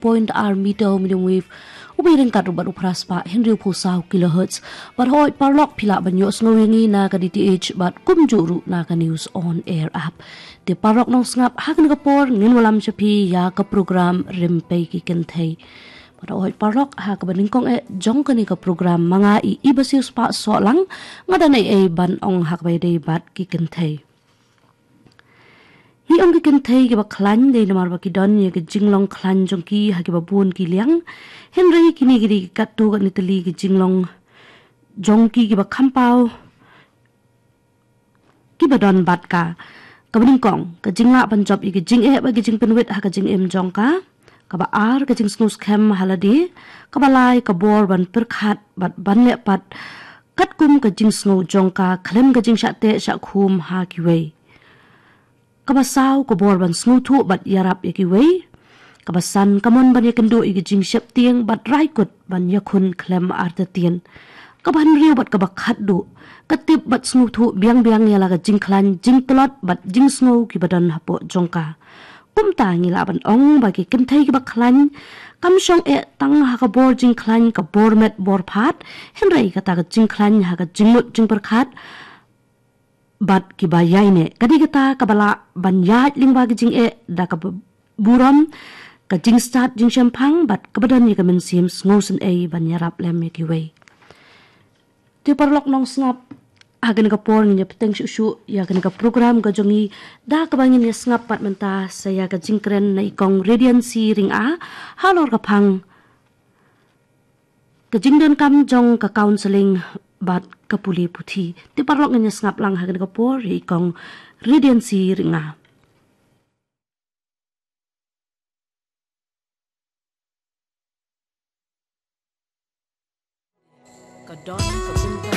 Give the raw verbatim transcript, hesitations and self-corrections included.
point ar meter medium wave, u bai ryngkat ruh bad u phra spah hynriew phew saw kilohertz. Bad hoi paralok phi lah ban ïohsngew ïa ngi na ka D T H bad kumjuh ruh na ka News on Air app. Te paralok nongsngap, ha kane ka por ngin wallam sha phi ïa ka program Rympei ki Kynthei. Bad hoi paralok, ha kaba nyngkong eh jong kane ka program ma nga i Ibasius Pah Sohlang, nga don ei ei ban ong ha kaba ïadei bad ki kynthei. Hi ong ki kynthei kiba khlaiñ dei namar ba ki don ïa ka jinglong khlaiñ jong ki ha kiba bun ki liang. Hynrei kine ki dei katto katne tylli ki jinglong jong ki kiba kham paw kiba don bad ka. Kaba nyngkong, ka jinglah ban jop ïa ka jingeh bad ka jingpynwit ha ka jingim jong ka. Kaba ar, ka jingsngewskhem ha lade. Kaba lai, ka bor ban pyrkhat bad ban leh pat katkum ka jingsngew jong ka khlem ka jingshah teh shah khum ha kiwei. Kaba saw, ka bor ban sngewthuh bad ïarap ïa kiwei. Kaba san, ka mon ban ïakynduh ïa ka jingsheptieng bad rai kut ban ïakhun khlem artatien. Kaba hynriew bad kaba khatduh, ka tip bad sngewthuh biang biang ïa la ka jingkhlaiñ, jingtlot bad jingsngew kiba don hapoh jong ka. Kumta ngi lah ban ong ba ki kynthei kiba khlaiñ kam shong eh tang ha ka bor jingkhlaiñ, ka bor met bor phad, hynrei kata ka jingkhlaiñ ha ka jingmut jingpyrkhat bad kiba ïaineh. Ka dei kata kaba lah ban ïaid lyngba ka jingeh da kaba burom, ka jingstad jingshemphang bad kaba don ïa ka mynsiem sngewsynei ban ïarap lem ïa kiwei. Te paralok nongsngap, ha kane ka por ngin ïa bteng shuh shuh ïa kane ka program ka jong ngi da kaba ngin ïa sngap pat mynta sa ïa ka jingkren na i Kong Radiancy Ringa halor ka phang ka jingdonkam jong ka counselling bad ka pule puthi. Te paralok ngin ïa sngap lang ha kane ka por ïa i Kong Radiancy Ringa. Ka don ka bynta